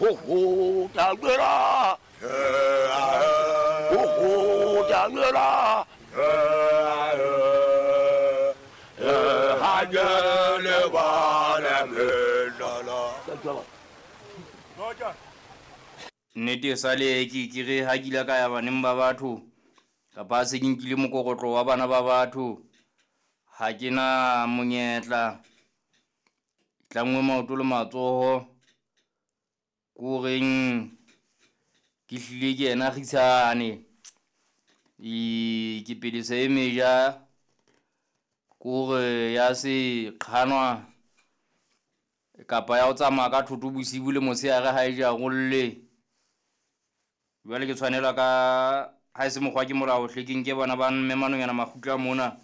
Ho tla Ho tla Nnete e sale ke ke re ha ke ile ka ya baneng ba batho kapa se ke nkile mokokotlo wa bana ba batho, ha ke na monyetla. Tlanngwe maoto le matsoho ko reng ke hlile ke yena kgitshane ke pelesa e meja kore ya se qhanwa kapa ya ho tsamaya ka thoto bosibu le motshehare ha e jarolle. Jwale ke tshwanela ka ha e se mokgwa ke molao hle ke nke bana ba mme manonyana makgutla mona,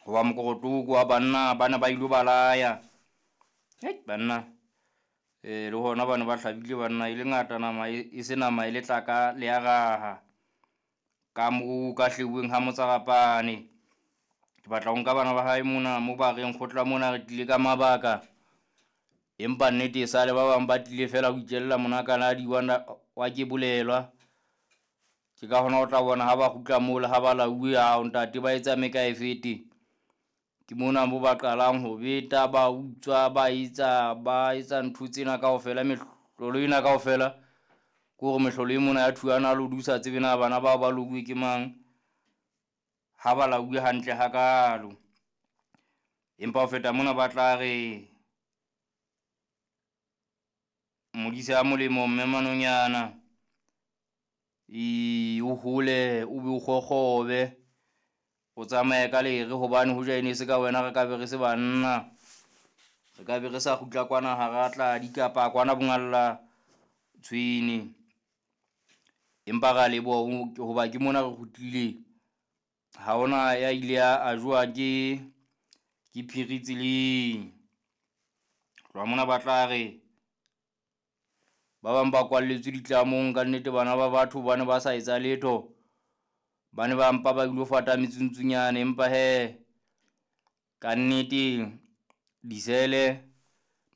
hoba mokorotlo ko wa banna ba ne ba ilo balaya. Hei banna, le hona bane ba hlabile banna e le ngata nama e se nama e le tlaka le ya raha. Ka moo ka hleuweng ha motsarapane. Ke batla ho nka bana ba hae mona mo ba reng kgotla mona re tlile ka mabaka. Empa nnete e sale ba bang ba tlile fela ho itjella monakaladi wa ke bolelwa. Ke ka hona o tla bona ha ba kgutla moo le ha ba lauwe, ao ntate ba etsa mekaefete. Ke mona mo ba qalang ho beta, ba utswa, ba etsa ntho tsena kaofela, mehlolo ena kaofela. Ke hore mehlolo e mona ya thuana lodi o sa tsebe na bana bao ba louwe ke mang, ha ba lauwe hantle hakalo. Empa ho feta mona ba tla re modise a molemo mme manonyana, o hole o be o kgokgobe, o tsamaye ka lere hobane hoja e ne se ka wena re ka be re se banna. Re ka be re sa kgutla kwana hara tladi kapa kwana bongalla tshwene. Empa ra leboha hoba ke mona re kgutlile. Ha hona ya ile a jowa ke phiri tseleng. Tloha mona ba tla re ba bang ba kwalletswe ditlamong, ka nnete bana ba batho ba ne ba sa etsa letho. Ba ne ba mpa ba ilo fata metsuntsunyane, empa he ka nnete disele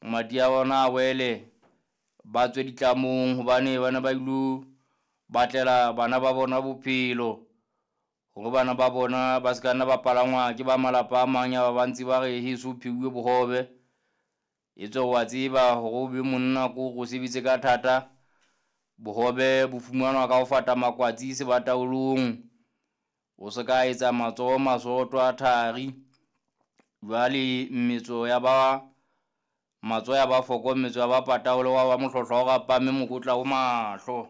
madi a bona a wele, ba tswe ditlamong hobane ba ne ba ilo batlela bana ba bona bophelo. Hore bana ba bona ba se ka nna ba palangwa ke ba malapa a mang ya ba ba ntse ba re heso pheuwe bohobe. Etswe wa tseba hore o be monna ko o sebetse ka thata, bohobe bo fumanwa ka ho fata makwatsi sebataolong. O se ka etsa matsoho masoto a thari. Jwale mmetso ya ba matsoho ya ba foko, mmetso ya ba pataolo wa ba mohlohlo wa o rapame mokotla o mahlo.